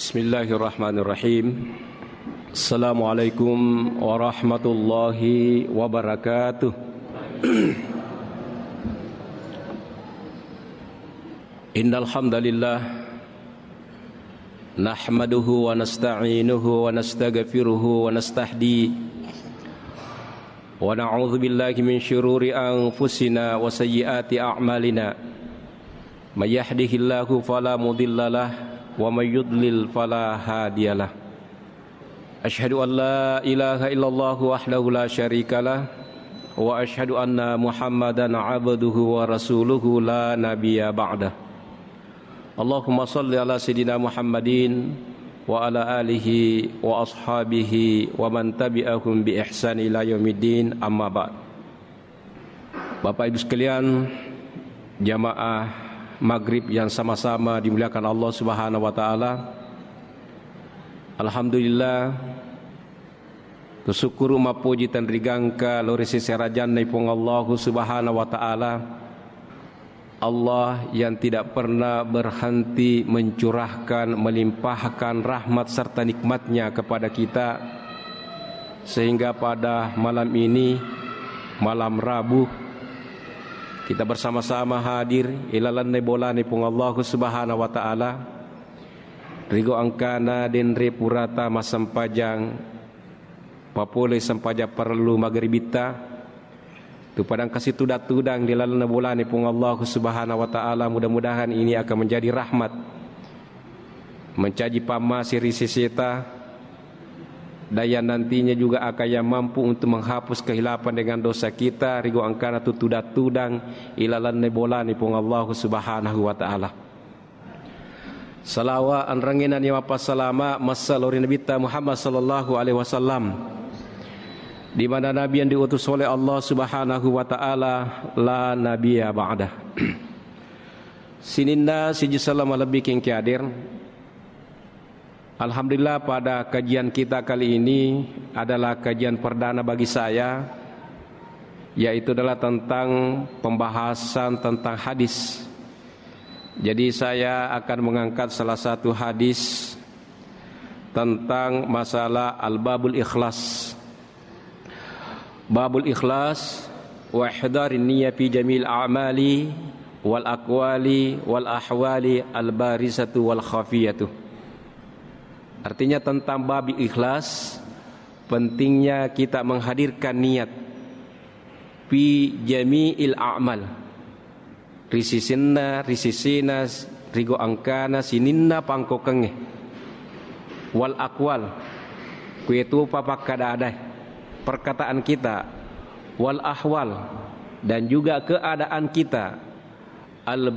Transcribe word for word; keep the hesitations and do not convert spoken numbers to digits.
Bismillahirrahmanirrahim. Assalamualaikum warahmatullahi wabarakatuh. Innal hamdalillah, nahmaduhu wa nasta'inuhu wa nastaghfiruhu wa nastahdi, wa na'udzu billahi min syururi anfusina wa sayyiati a'malina. May yahdihillahu fala mudhillalah, wa may yudlil fala hadiyalah. Asyhadu an la ilaha illallah wahdahu la syarikalah, wa asyhadu anna Muhammadan abduhu wa rasuluhu la nabiyya ba'dah. Allahumma salli ala sayyidina Muhammadin wa ala alihi wa ashabihi wa man tabi'ahum bi ihsan ila yaumiddin, amma ba'd. Bapak Ibu sekalian, jamaah maghrib yang sama-sama dimuliakan Allah Subhanahu wa taala. Alhamdulillah, tusukkuru mappoji tenrigangka lao ri sese rajanna Puang Allahu Subhanahu wa taala. Allah yang tidak pernah berhenti mencurahkan, melimpahkan rahmat serta nikmatnya kepada kita, sehingga pada malam ini, malam Rabu, kita bersama-sama hadir ilalanna bolana Puang Allahu Subhanahu wa taala. Rigo engkana denre purata massempajang, papole sempajang parellu maghribitta, tu padang kasi tudang-tudang di lalenna bolana Puang Allahu Subhanahu wa taala. Mudah-mudahan ini akan menjadi rahmat, mencaji pammase ri seseta, dan yang nantinya juga akan yang mampu untuk menghapus kehilapan dengan dosa kita, rigo engkana tu tudang-tudang ilalanna bolana Puang Allahu Subhanahu wa taala. Salawa anrengena ni mappasalama massa lao ri Nabitta Muhammad sallallahu alaihi wasallam, di mana Nabi yang diutus oleh Allah Subhanahu wa taala, la nabiyya ba'dah. Sininna siji selleng malebbi kengki hadir. Alhamdulillah, pada kajian kita kali ini adalah kajian perdana bagi saya, yaitu adalah tentang pembahasan tentang hadis. Jadi, saya akan mengangkat salah satu hadis tentang masalah al-babul ikhlas. Babul ikhlas, wa ihdarin niyya fi jami'il a'mali wal aqwali wal ahwali al-barizatu wal khafiyatu. Artinya, tentang bab ikhlas, pentingnya kita menghadirkan niat fi jami'il a'mal. Ri sisinna, ri sisina, rigo engkana sininna pangkokengnge. Wal akwal, kuetupa pakkada-adae, perkataan kita. Wal ahwal, dan juga keadaan kita. Al